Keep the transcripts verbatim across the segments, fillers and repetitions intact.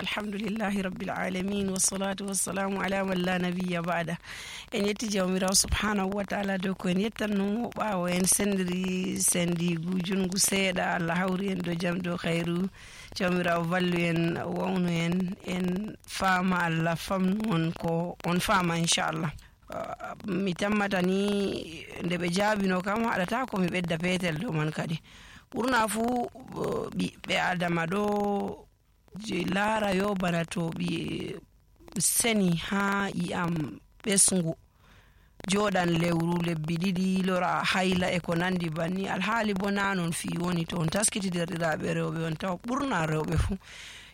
Alhamdulillahi rabbil alamin, wassalatu wassalamu ala man la nabiyya ba'da. En yetti Jawmiraawo subhanahu wa ta'ala dow ko en yettanno mo ɓaawo en sendiri sendigu junngu seeɗa. Allah hawri en dow jam, dow khayru. Jawmiraawo wallu en, wawnu en, en faama, Allah famnu on ko on faama, inchallah. Ah, mi tammata ni nde ɓe jaabino kam, haɗata ko mi ɓedda peetel dow man kadi. Ɓurna fuu, eh, ɓiɓɓe Adama ɗo je laara yo bana to ɓi seni haa ƴi'am ɓesngu, jooɗan lewru, lebbi ɗiɗi, lora hayla e ko nandi banni. Alhaali bo na non fii woni. To on taskiti derɗiraaɓe rewɓe, on tawa ɓurna rewɓe fuu.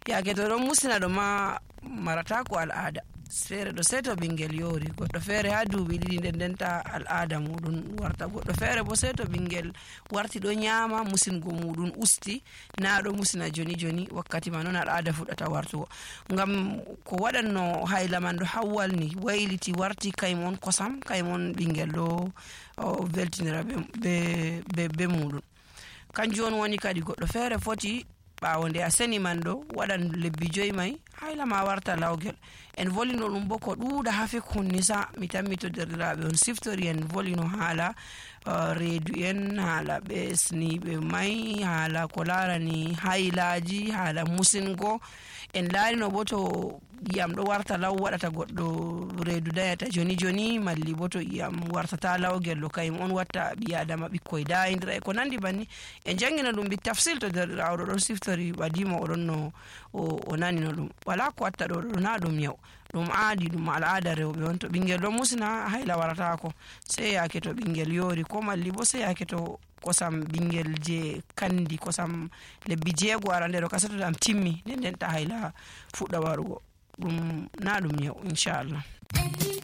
Yaake to ɗon musina ɗo ma marata ko al'aada. Feere ɗo sey to ɓinngel yoori, goɗɗo feere haa duuɓi ɗiɗi nden ndenta al'aada muuɗum warta. Goɗɗo feere bo sey to ɓinngel warti ɗo nyaama, musingo muuɗum usti, na ɗo musina joni joni, wakkati ma non al'aada fuɗɗata wartugo. Ngam ko waɗanno hayla man ɗo hawwalni, wayliti, warti kaymo on kosam, kaymo on ɓinngel ɗo, o weltinira be, be, be, be muuɗum. Kanjum on woni kadi goɗɗo feere foti, ɓaawo nde a seni man ɗo, waɗan lebbi joyi may, hayla ma warta lawgel. En volino ɗum bo ko ɗuuɗa haa fikhun nisa, mi tammi to derɗiraaɓe on siftori en volino haala, eh, reedu en, haala ɓesniiɓe may, haala ko laarani haylaaji, haala musingo. En laarino bo to ƴi'am ɗo warta law waɗata goɗɗo reedu dayata joni joni, malli bo to ƴi'am wartata lawgel ɗo kayum on watta ɓii Adama ɓikkoy dayindira e ko nandi banni. En janngino ɗum bi tafsil to derɗiraawo ɗo ɗon siftori ɓadimo o ɗon no o, o nanino ɗum. Wala ko watta ɗo ɗo na ɗum yaw. Ɗum aadi, ɗum al'aada rewɓe on. To ɓinngel ɗon musina, hayla warataako. Sey yaake to ɓinngel yoori, ko malli bo sey yaake to kosam ɓinngel je kandi, kosam lebbi jeego ara nde ɗo ka setoɗam timmi, nden nden ta hayla fuɗɗa warugo. Ɗum na ɗum yaw, inchallah.